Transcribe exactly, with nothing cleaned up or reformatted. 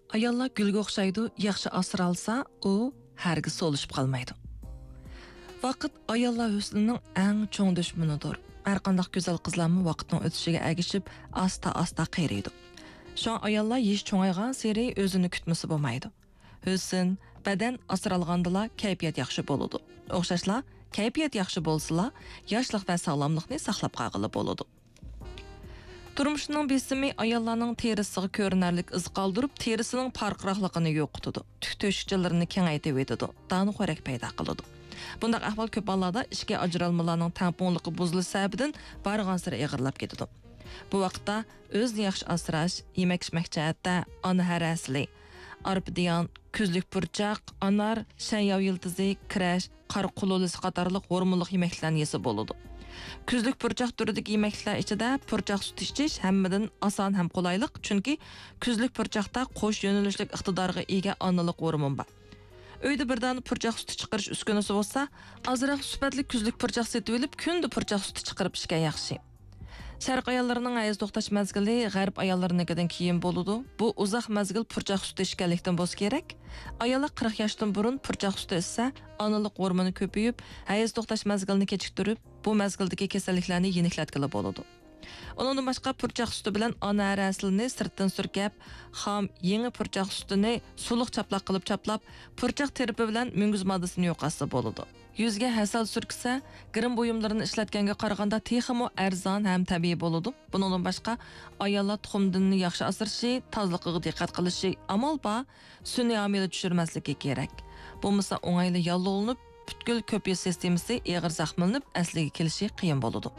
ئاياللار گۈلگە ئوخشايدۇ، ياخشى ئاسرالسا، ئۇ ھەرگىز سولىشىپ قالمايدۇ. ۋاقىت ئاياللار ھۆسنىنىڭ ئەڭ چوڭ دۈشمىنىدۇر. ھەرقانداق گۈزەل قىزلارمۇ ۋاقىتنىڭ ئۆتۈشىگە ئەگىشىپ ئاستا-ئاستا قېرىيدۇ. شۇڭا ئاياللار يېشى چوڭايغانسېرى ئۆزىنى كۈتمىسە بولمايدۇ. ھۆسن، بەدەن ئاسرالغاندىلا كەيپىيات ياخشى بولىدۇ. ئوخشاشلا، كەيپىيات ياخشى بولسىلا، ياشلىق ۋە ساغلاملىقنى ساقلاپ قالغىلى بولىدۇ. تۇرمۇشنىڭ بېسىمى ئاياللارنىڭ تېرىسىغا كۆرۈنەرلىك ئىز قالدۇرۇپ، تېرىسىنىڭ پارقىراقلىقىنى يوقىتىدۇ، تۈك تۆشۈكچىلىرىنى كېڭەيتىۋېتىدۇ، دانىخورەك پەيدا قىلىدۇ. بۇنداق ئەھۋال كۆپ ھاللاردا ئىچكى ئاجرالمىلارنىڭ تەڭپۇڭلۇقى بۇزۇلۇش سەۋەبىدىن بارغانسېرى ئېغىرلاپ كېتىدۇ. بۇ ۋاقىتتا ئۆزىنى ياخشى ئاسراش، يېمەك-ئىچمەك جەھەتتە ئانا ھەر ھەسىلى، ئارپىدىيان، كۈزلۈك پۇرچاق، ئانار، شەنياۋ يىلتىزى، كىرەش، قارا قۇلۇلىسى قاتارلىق ھورمونلۇق يېمەكلىكلەرنى يېسە بولىدۇ. كۈزلۈك پۇرچاق تۈرىدىكى يېمەكلىكلەر ئىچىدە پۇرچاق سۈتى ئىچىش ھەممىدىن ئاسان ھەم قولايلىق، چۈنكى كۈزلۈك پۇرچاقتا قوش يۆنىلىشلىك ئىقتىدارغا ئىگە ئانىلىق ھورمون بار. ئۆيدە بىر دانە پۇرچاق سۈتى چىقىرىش ئۈسكۈنىسى بولسا، ئازراق سۈپەتلىك كۈزلۈك پۇرچاق سېتىۋېلىپ، كۈندە پۇرچاق سۈتى چىقىرىپ ئىچكەن ياخشى. شەرق ئاياللىرىنىڭ ھەيز توختاش مەزگىلى غەرب ئاياللىرىنىڭكىدىن كېيىن بولىدۇ. بۇ ئۇزاق مەزگىل پۇرچاق سۈتى ئىچكەنلىكتىن بولسا كېرەك. ئاياللار قىرىق ياشتىن بۇرۇن پۇرچاق سۈتى ئىچسە، ئانىلىق ھورمونى كۆپىيىپ، ھەيز توختاش مەزگىلىنى كېچىكتۈرۈپ، بۇ مەزگىلدىكى كېسەللىكلەرنى يېنىكلەتكىلى بولىدۇ. ئۇنىڭدىن باشقا، پۇرچاق سۈتى بىلەن ئانا ھەر ھەسىلىنى سىرتتىن سۈركەپ، خام، يېڭى پۇرچاق سۈتىنى سۇلۇق چاپلاق قىلىپ چاپلاپ، پۇرچاق تىرپى بىلەن مۈڭگۈز ماددىسىنى يوقاتسا بولىدۇ. يۈزگە ھەسەل سۈركىسە، گىرىم بۇيۇملىرىنى ئىشلەتكەنگە قارىغاندا تېخىمۇ ئەرزان ھەم تەبىئىي بولىدۇ. بۇنىڭدىن باشقا، ئاياللار تۇخۇمدىننى ياخشى ئاسرىشى، تازىلىقىغا دىققەت قىلىشى، ئامال بار سۈنئىي ھامىلە چۈشۈرمەسلىكى كېرەك. بولمىسا ئوڭايلا ياللۇغلىنىپ، پۈتكۈل كۆپ يۈز سىستېمىسى ئېغىر زەخىملىنىپ، ئەسلىگە كېلىشى قىيىن بولىدۇ.